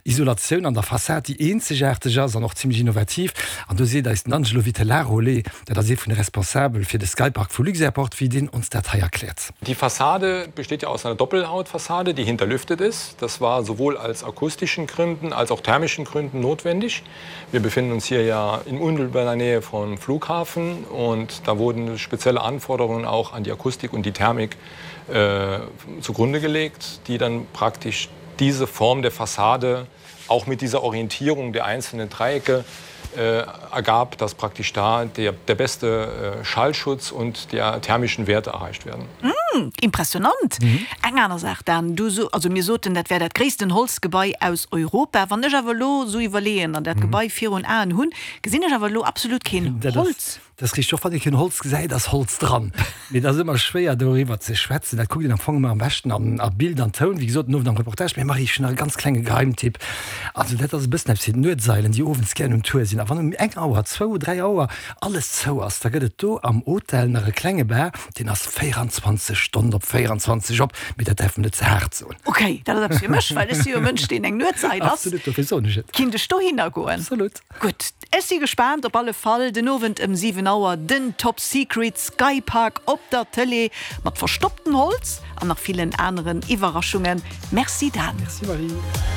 Isolatioun an der Fassad, déi eenzegaarteg ass an och zimmlech innovativ. An do seet eis den Angelo Vitellaro-Le, dat ass ee vun de Responsabel fir de Skypark vu Luxairport, wéi deen ons dat hei erkläert. Die Fassade besteht ja aus einer Doppelhautfassade, die hinterlüftet ist. Das war sowohl als akustischen Gründen als auch thermischen Gründen notwendig. Wir befinden uns hier ja in unmittelbarer Nähe vom Flughafen und da wurden spezielle Anforderungen auch an die Akustik und die Thermik äh, zugrunde gelegt, die dann praktisch diese Form der Fassade auch mit dieser Orientierung der einzelnen Dreiecke äh, ergab, dass praktisch da der, der beste äh, Schallschutz und der thermischen Werte erreicht werden. Mm, impressionant. Mhm. Eng aner Saach dann du so, also mir soten dat wär dat gréissten Holzgebai aus Europa. Wann ech awer lo sou iwwerleeën an dat mhm. Gebai virun Aen hunn, gesinn ech awer lo absolut keen Holz. Dat ass richteg, och wann ee keen Holz gesäit, ass Holz dran. Mee et ass ëmmer schwéier doriwwer ze schwätzen. Dat kuckt een am Fong ëmmer am beschten an a Bild an Toun, wéi gesot den Owend am Reportage. Mee Marie, ech hunn nach e ganz klenge Geheimtipp. Also dat ass e bëssen eppes fir d'Nuetseilen, déi owends gären um Tour sinn. A wann um eng Auer, zwou, 3 Auer alles zou ass, da gëtt et do am Hotel nach e klenge Bar, deen ass 24 Stonnen op 24 op. Mee dat däerf mer net ze haart soen. Ok, dat ass eppes fir mech, well ech si jo e Mënsch, deen eng Nuetseil ass. Absolut, dofir soen ech et. Kinnt ech dohinner goen? Absolut. Gutt, ech si gespaant. Op alle Fall den Owend ëm 7 Auer den Top Secret Sky Park op der Tëlee mat verstopptem Holz an nach villen aneren Iwwerraschungen. Merci Dan. Merci Marie.